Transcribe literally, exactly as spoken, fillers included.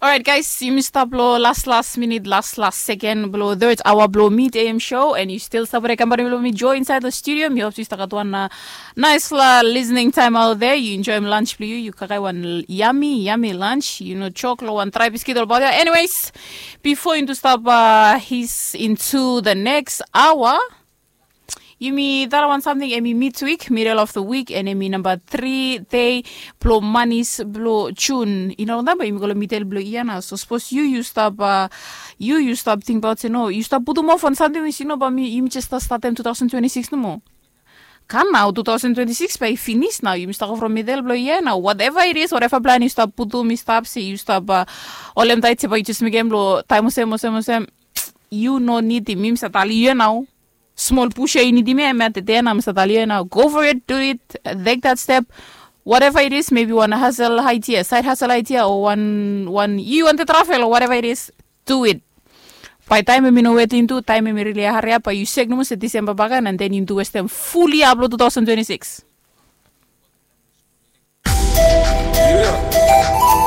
Orait guys, yumi stap long las las minit, las las seken blong third aoa blong mid am show, and yu stil stap wetem kampani blong mi, Joe, insait long studio. Mi hop yu stap gat wan naisfala listening time out there. Yu enjoim lunch blong yu, yu kaikai wan yami yami lunch, yu no jok long wan drai biskit olbaot ya. Anyways, bifo yumi tu stap his into the next aoa, yumi tara wan samting, em i midwik, middle of the week, and em i namba tri dei blong manis blong Jun. I no longtaim bae yumi go long midel blong yia nao. So sapos yu yu stap, yu yu stap tingbaot se no, yu stap putum of on samting we yu no bae yumi jes stap statem two thousand twenty-six nomo. Kam nao, two thousand twenty-six bae i finis nao, yumi stap go from midel blong yia nao. Whatever it is, whatever plan yu stap putum i stap se yu stap holem taet se bae yu jes mekem long taem olsem olsem olsem, yu no nidim mi, mi save talem yu ya nao. Smol push ya yu nidim ya, em ya tede ya nao, mi save talem yu ya nao, go for it, do it, take that step. Whatever it is, maybe wan hustle idea, side hustle idea, o wan wan yu wanted travel o whatever it is, do it. Bae taem em i no wetem tu, taem em i rili hariap, bae yu sek nomo se Disemba bae i kam, and then yumi tu westem fully up long two thousand twenty-six.